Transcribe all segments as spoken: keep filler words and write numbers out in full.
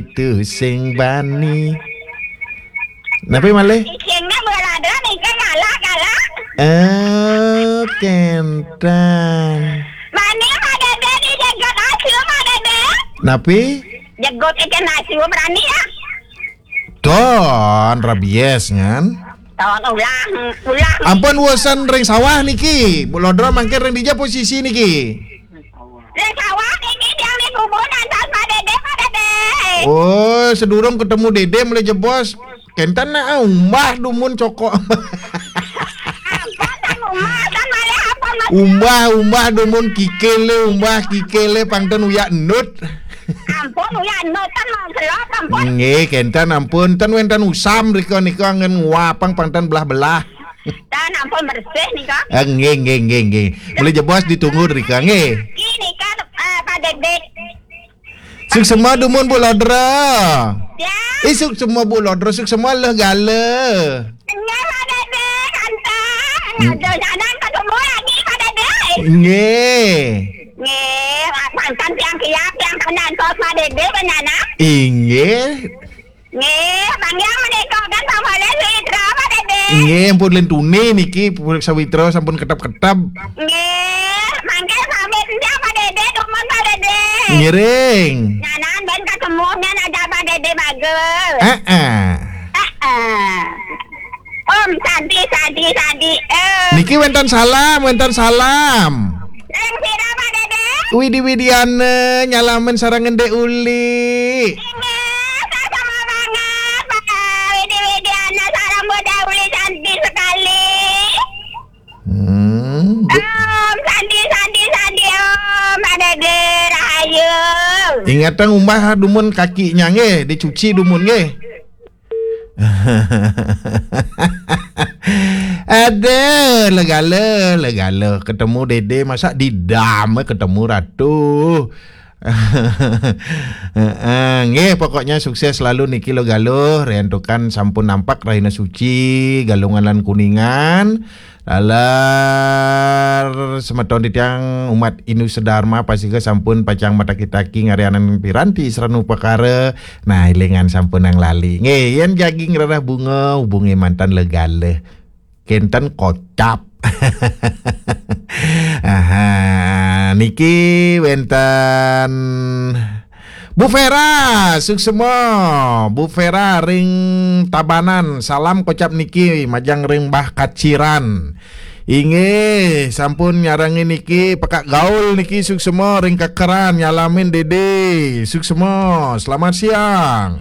Itu sing bani. Napi malih? Cicingnya berada nih, kan galak, galak. Eh, kenten. Bani, Pak Dede, dijegot asu, Pak Dede. Napi? Jegot ikan asu, berani ya? Don, rabies, ngan. Don, ulah, ulah. Ampun, wusan ring sawah niki. Bu Lodro mangkin ring dija posisi niki. Ring sawah niki, tiang di kubun, antos Pak Dede, Pak Dede. Oh, sedurung ketemu Dede, mulai jebos. Kenten nak, ah, umbah dumun cokok. Ampun, tan umbah, tan malih ampun, Mas. Umbah, umbah dumun kikil le, umbah kikil le, pang ten uyak enut. Ampun, uyak enut, tan mau selot, ampun. Nggih, kenten ampun, ten wenten usam rika nika ngen nguapang pang ten belah-belah. Tan ampun bersih nika. Ah, nggih, nggih, nggih, nggih. Mulai jebos ditunggu rika, nggih. Niki nika, eh, Pak Dede. Suksma dumun Bu Lodra. Ya. Eh, suksma Bu Lodra, suksma leh gala. Nggih, Pak Dede, kenten. Hmm. Ada jalan ketemu lagi, Pak Dede. Nggih. Nggih, kenten tiang kiat, tiang kenten kos Pak Dede, benar, nah? Inggih. Nggih, panggih menika kan Pak Dede, Pak Dede. Nggih, ampun lintune niki, sawitra sampun ketep-ketep. Nggih, mangke pamit nggih, Pak Dede, dumun, Pak Dede. Ngiring. Nyanan ben ketemu nyan ada Pak Dede bagus. Heeh. Heeh. Om Santi, Santi, Santi. Eh. Niki wenten salam, wenten salam. Ring sira, Pak Dede? Widi Widiana nyalamin sareng Ndek Uli. Inggih, sama banget, Pak. Widi Widiana, salam buat Uli cantik sekali. Hmm, bu- Om, sandi, sandi, sandi, Om, Pak Dede, rahayu. Ingatang umbah dumun kakinya nggih, dicuci dumun nggih. Aduh, legala, legala. Ketemu Dede, masa didam, eh, ketemu Ratu. Heeh, nggih, pokoknya sukses selalu niki lo Galuh, riantukan sampun nampak Rahina Suci, Galungan lan Kuningan. Lalar semeton titiang umat Hindu sedharma pasika sampun pacang mataki-taki ngarianang piranti srana upakara. Nah, ilingan sampunang lali. Nggih, yen jagi ngrereh bunga, hubungi mantan legala. Kenten kocap. Aha, niki wenten Bu Vera, suksma. Bu Vera ring Tabanan, salam kocap niki, majeng ring Mbah Kaciran. Inggih, sampun nyarengin niki, Pekak Gaul niki, suksma ring Kekeran, nyalamin Dede. Suksma, selamat siang.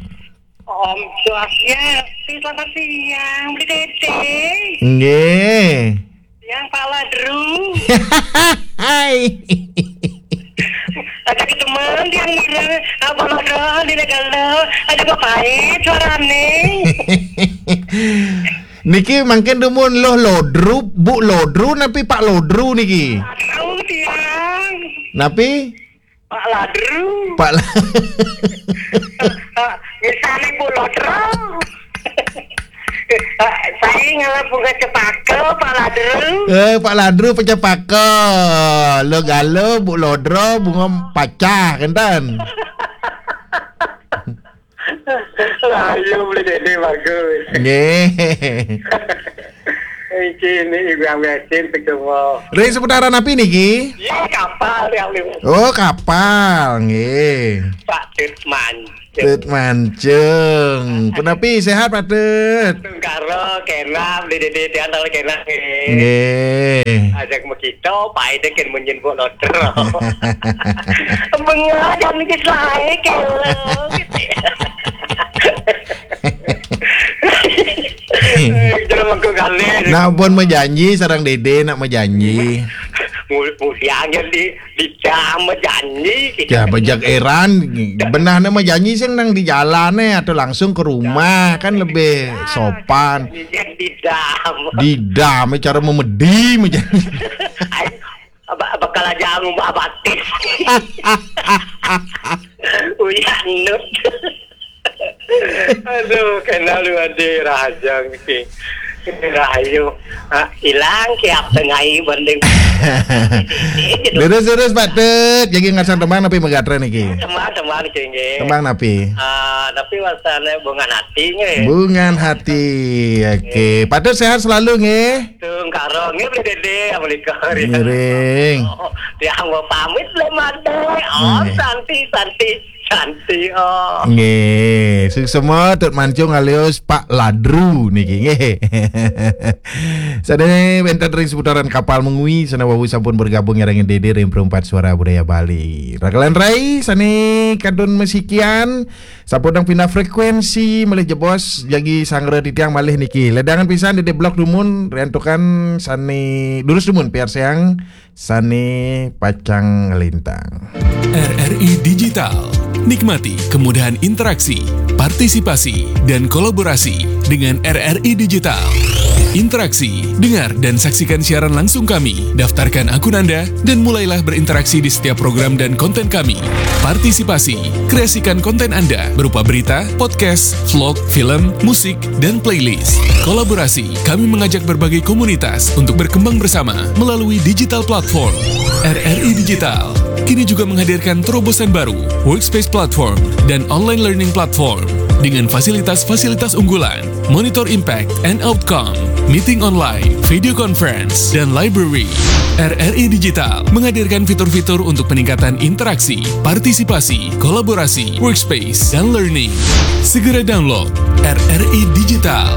Om Swastiastu, selamat siang, Bli Dede. Nggih. Yang Pak Ladru. Hai. Ada teman yang ngira, apa Ladru, di negara, ada bapak suarane. Niki mangkin dumun Loh Lodru, Bu Lodru, napi Pak Lodru niki? Tahu tiang. Napi? Pak Ladru. Pak La- Misalnya Bu Lodro. Saya ngalah bunga cepaka, Pak Ladru. Eh, Pak Ladru pecapaka. Lo galo, Bu Lodro, bunga pacah, kenten. Ayo, Bli Dede bagus. Nggih. Iki ini Ibu Yang Mesin ketemu. Ring seputaran napi niki? Ya, kapal yang lima. Oh, kapal, nggih. Pak Tut Mancung. Tut Mancung. Punapi sehat, Pak Tut? Tungkara, kena, Bli Dede, Tiantal, kena, nggih. Nggih. Ajak mekita, Pak Ede, ken munyin Bu Lodro. Bengah, jangan ke saya, kelo. Jangan mangko kali. Nak pun majanji, sareng Dede nak majanji. Mu-, mudian di, di jam majanji. Ya, bejak eran, benah nak majanji sing nang di jalan eh, atau langsung ke rumah, kan lebih sopan. Di jam. Di jam, cara memedi majanji. Ay, ba-, bakal aja ngubah batis. Uyak nut. Aduh, kenal lu ade rahaja niki. Rahayu. Ah, ilang kiap tengai banding. Leres-leres, Pak Tut. Jadi ngarsa tembang napi magatra niki? Tembang-tembang nggih. Tembang napi? Ah, tapi wasane Bungan Hati nggih. Bungan Hati. Oke, Pak Tut sehat selalu nggih. Tungkara nggih, Bli Dede, menika. Ngiring. Oh, tiang mau pamit le mate. Oh, Nggih. Santi, Santi, Santi. Oh. Nggih, suksma Tut Mancung alias Pak Ladru niki nggih. Sane wenten ring seputaran Kapal Mengwi, sane wau sampun bergabung sareng Dede ring Perempat Suara Budaya Bali. Rakalan rai sane kadun masikian, sampun pindah frekuensi, malih jebos jagi sanggra titiang malih niki. Ledangan pisan Dede blok dumun, riantukan sane durus dumun piarsayang sane pacang nglintang. R R I Digital. Nikmati kemudahan interaksi, partisipasi, dan kolaborasi dengan R R I Digital. Interaksi, dengar dan saksikan siaran langsung kami. Daftarkan akun Anda dan mulailah berinteraksi di setiap program dan konten kami. Partisipasi, kreasikan konten Anda berupa berita, podcast, vlog, film, musik, dan playlist. Kolaborasi, kami mengajak berbagai komunitas untuk berkembang bersama melalui digital platform. R R I Digital kini juga menghadirkan terobosan baru, Workspace Platform dan Online Learning Platform dengan fasilitas-fasilitas unggulan, monitor impact and outcome, meeting online, video conference, dan library. R R I Digital menghadirkan fitur-fitur untuk peningkatan interaksi, partisipasi, kolaborasi, workspace, dan learning. Segera download R R I Digital.